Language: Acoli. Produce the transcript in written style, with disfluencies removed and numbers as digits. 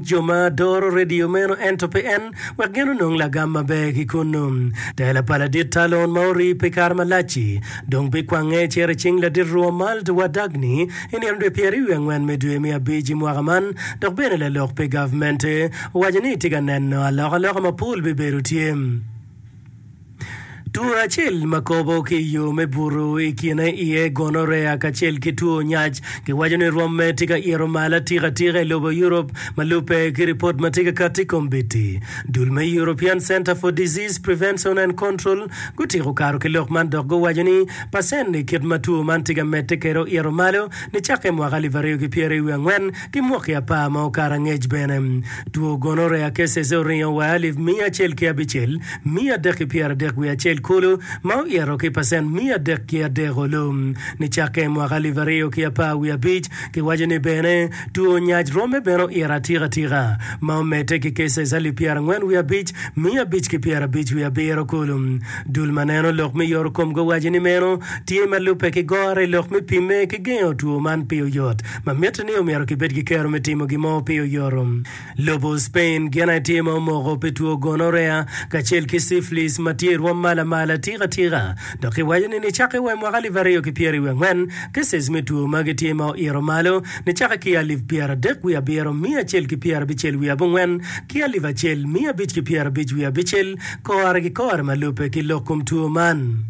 Jo ma doro redio meno ento pe en, wek gin onong lagam maber ki kunnu. Tela pa ladit Talon ma orii pi kare malac-ci, dong bikwange cito i cing ladit Romuald Wadagni i nino dwe pyeraryo wiye angwen me dwe me abic i mwaka man, dok bene lalok pi gavmente owaco ni etye ka neno alokaloka mapol bibedo tye. Two acel ma kobo ki i yo me buto i kine iye gonorrhea kacel ki two nyac giwaco ni rwomme tye ka ito malo atika atika i lobo Europe ma lubbe ki ripot ma tye ka katti i kombeddi. Dul me European Centre for Disease Prevention and Control gutiko kato ki lok man dok guwaco ni pacen i kit ma two man tye ka medde kwede oito malo nicakke i mwaka 2024 ki mwaki apar ma okato angec bene. Two gonorrhea cases oringo wa alip 106 331 kulu, ma oito ki pacent 303 olu. Nicakke i mwaka 2015, kiwaco ni bene two nyac rwomme bene oito atika atika, ma omedde ki cases 45,557 kulu. Dul ma neno lok me yoto kom guwaco ni meno tye ma lubbe ki goro i lok me pimme ki gengo two man pi oyot, ma mitte ni omyero kibed ki kero me timo gin mo pi oyoto. Lobo Spain gin aye tye ma omoko pi two gonorrhea kacel ki syphilis ma tye i rwom ma lamal atika tika. Dok kiwaco ni nicakke wa i mwaka alip aryo ki pyeraryo angwen, cases me two magi tye ma oito malo nicakke ki alip pyeradek wiye abiro miya acel ki pyerabicel wiye abongwen ki alip acel miya abic ki pyerabic wiye abicel kore ki kore ma lubbe ki lok kom two man.